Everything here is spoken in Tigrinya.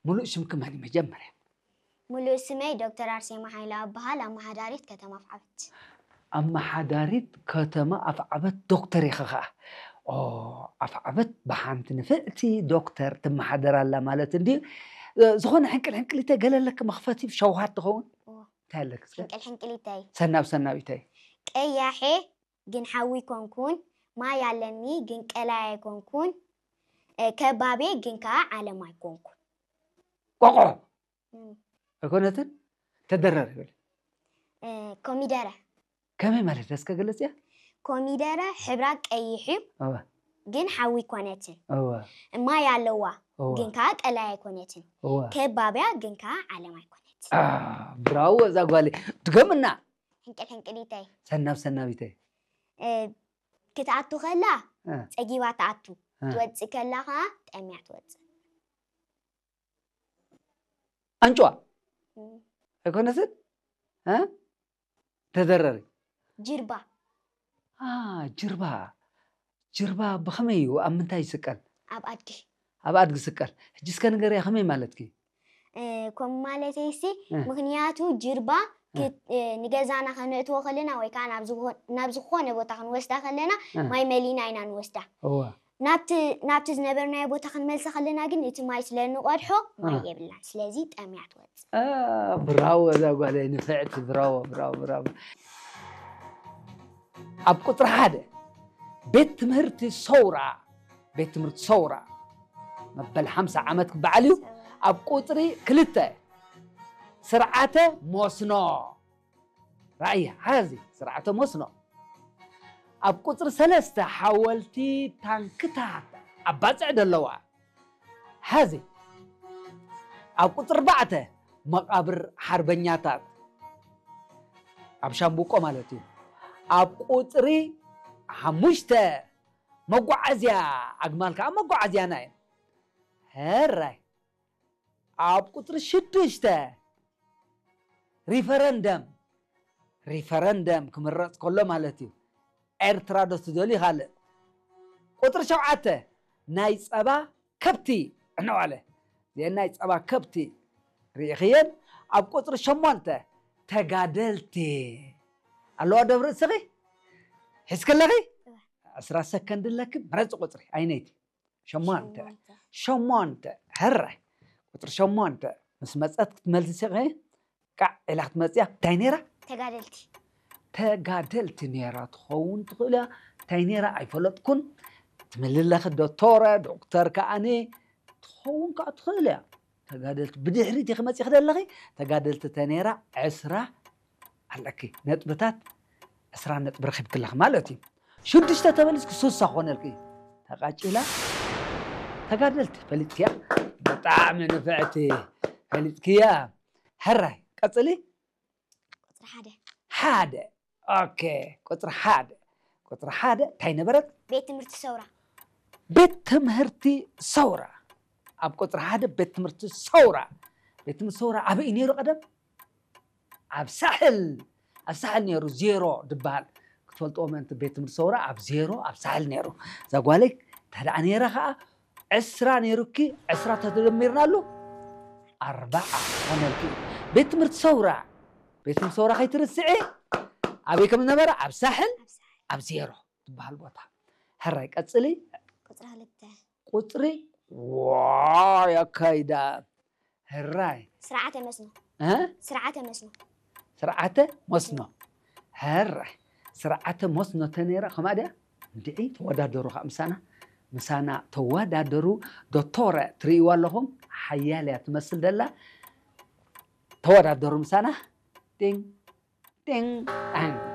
ሙሉእ ሽምኪ መን እዩ መጀመርያ? ሙሉእ ስመይ ዶክተር ኣርሴማ ሓይለ እበሃል፣ ኣመሓዳሪት ከተማ ኣፍዓበት። ኣመሓዳሪት ከተማ ኣፍዓበት ዶክተር ኢኺ ኸዓ። ኦ፣ ኣፍዓበት ብሓንቲ ንፍዕቲ ዶክተር ትመሓደር ኣላ ማለት እንድዩ። እ፣ ዝኾነ ሕንቅል ሕንቅሊተ ገለ ኣለኪ መኽፈቲ ሸውሃት ትኸውን? እዎ። እንታይ ኣለኪ እስከ? ሕንቅል ሕንቅሊተይ። ሰናብ ሰናቢተይ። ቀያሕ ግን ሓዊ ኣይኮንኩን፣ ማይ ኣለኒ ግን ቀላይ ኣይኮንኩን፣ እ፣ ከባቢ ግን ከዓ ዓለም ኣይኮንኩን። ቆቆ እም፣ ኣይኮነትን? ተደረር ይብል። እ፣ ኮሚደረ። ከመይ ማለት እስከ ገለጽያ? ኮሚደረ ሕብራ ቀይሕ እዩ፣ እወ፣ ግን ሓዊ ኣይኮነትን። እወ፣ ማይ ኣለዋ፣ እወ፣ ግን ከዓ ቀላይ ኣይኮነትን። እወ። ከባቢያ ግን ከዓ ዓለም ኣይኮነትን። አ፣ ብራዎ እዛ ጓለይ። ድገምና። ሕንቅል ሕንቅሊተይ። ሰናብ ሰናቢተይ። እ፣ ክትኣቱ ከላ እ፣ ጸጊባ ትኣቱ፣ እ። ትወጽእ ከላ ከዓ ጠምያ ትወጽእ። ኣንጭዋ እም፣ ኣይኮነትን? እ? ተደረሪ። ጅርባ። አ፣ ጅርባ። ጅርባ ብኸመይ እዩ? ኣብ ምንታይ ይስቀል? ኣብ ኣድጊ። ኣብ ኣድጊ ይስቀል። ሕጂ እስከ ንገርያ ከመይ ማለትኪ? እ፣ ከምኡ ማለተይሲ እ። ምኽንያቱ ጅርባ እ። ክት-፣ እ፣ ንገዛና ከነእትዎ ከለና ወይ ከዓ ናብ ዝኾ-፣ ናብ ዝኾነ ቦታ ክንወስዳ ከለና እ። ማይ መሊና ኢና ንወስዳ። እወ። ናብቲ ናብቲ ዝነበርናዮ ቦታ ክንመልሳ ከለና ግን እቲ ማይ ስለ እንቐድሖ ማይ እ። የብልናን። ስለዚ ጠምያ ትወጽእ። አ፣ ብራዎ እዛ ጓለይ ንፍዕቲ፣ ብራዎ፣ ብራዎ፣ ብራዎ። ኣብ ቁጽሪ ሓደ ቤት ትምህርቲ ሰውራ፣ ቤት ትምህርቲ ሰውራ መበል ሓምሳ ዓመት ክበዓል እዩ። ኣብ ቁጽሪ ክልተ ስርዓተ መስኖ። ራእያ፣ ሓዚ ስርዓተ መስኖ። ኣብ ቁጽሪ ሰለስተ ሓወልቲ ታንክታት ኣብ ባጽዕ ደለዋ። ሓዚ ኣብ ቁጽሪ ኣርባዕተ መቓብር ሓርበኛታት ኣብ ሻምብቆ ማለት እዩ። ኣብ ቁጽሪ ሓሙሽተ መጓዓዝያ፣ ኣግማል ከዓ መጓዓዝያና እዩ። ሕራይ ኣብ ቁጽሪ ሽዱሽተ ሪፈረንደም፣ ሪፈረንደም ክምረጽ ከሎ ማለት እዩ። ኤርትራ ዶ ትደልዩ ካልእ? ቁጽሪ ሸውዓተ ናይ ጸባ ከብቲ ዕነዋለ። እዚአን ናይ ጸባ ከብቲ ርኢኽየን። ኣብ ቁጽሪ ሸሞንተ ተጋደልቲ ኣለዋ ደብሪ እስኺ ሒዝክለኺ ዕስራ ሰከንድ ኣለኪ። ምረጺ ቁጽሪ ኣይነይቲ ሸሞንተ። ሸሞንተ። ሸሞንተ። ሕራይ ቁጽሪ ሸሞንተ ምስ መጸት ክትመልሲ ኢኺ። ቃዕ ኢላ ክትመጽያ እንታይ ነይራ? ተጋደልቲ። ተጋደልቲ ነይራ ትኸውን ትኽእል እያ። እንታይ ነይራ ኣይፈለጥኩን። ትምልለኺ ዶክተረ ዶክተር ከኣኒ ትኸውን ከዓ ትኽእል እያ። ተጋደልቲ ብድሕሪት ኢኺ መጺኺ ዘለኺ። ተጋደልቲ ተነይራ ዕስራ ኣለኪ ነጥብታት፣ ዕስራ ነጥቢ ረኺብክለኺ ማለት እዩ። ሽዱሽተ ተመሊስኪ ሱሳ ክኾነልኪ እዩ። ተቃጭላ ተጋደልቲ ፈሊጥክያ። ብጣዕሚ ንፍዕቲ ፈሊጥክያ። ሕራይ ቀጽሊ። ቁፅሪ ሓደ። ሓደ። ኦኬ። ቁፅሪ ሓደ። ቁፅሪ ሓደ እንታይ ነበረት? ቤት ትምህርቲ ሰውራ። ቤት ትምህርቲ ሰውራ። ኣብ ቁፅሪ ሓደ ቤት ትምህርቲ ሰውራ። ቤት ትምህርቲ ሰውራ ኣበይ ነይሩ ቀደም? ኣብ ሳሕል። ኣብ ሳሕል ነይሩ፣ ዜሮ ዝበሃል ክትፈልጥዎ ምእንቲ። ቤት ትምህርቲ ሰውራ ኣብ ዜሮ ኣብ ሳሕል ነይሩ። እዛ ጓለይ እንተ ደኣ ነይራ ከዓ ዕስራ ነይሩኪ፣ ዕስራ ተደሚርናሉ ኣርባዓ ኮነልኪ። ቤት ትምህርቲ ሰውራ፣ ቤት ትምህርቲ ሰውራ ከይትርስዒ። ኣበይ ከም ዝነበረ? ኣብ ሳሕል ኣብ ዜሮ ዝበሃል ቦታ። ሕራይ ቀፅሊ። ቁፅሪ ክልተ። ቁፅሪ ዋይ ኣካይዳ። ሕራይ ስርዓተ መስኖ። እ? ስርዓተ መስኖ። ስርዓተ መስኖ። ሕራይ ስርዓተ መስኖ ተነይራ ከማ ድያ? እንድዒ ተወዳደሩ ከዓ ምሳና። ምሳና ተወዳደሩ። ዶቶረ ትርእይዋ ኣለኹም። ሓያል እያ ትመስል ደላ። ተወዳደሩ ምሳና። ጢንግ ጢንግ ጣንግ።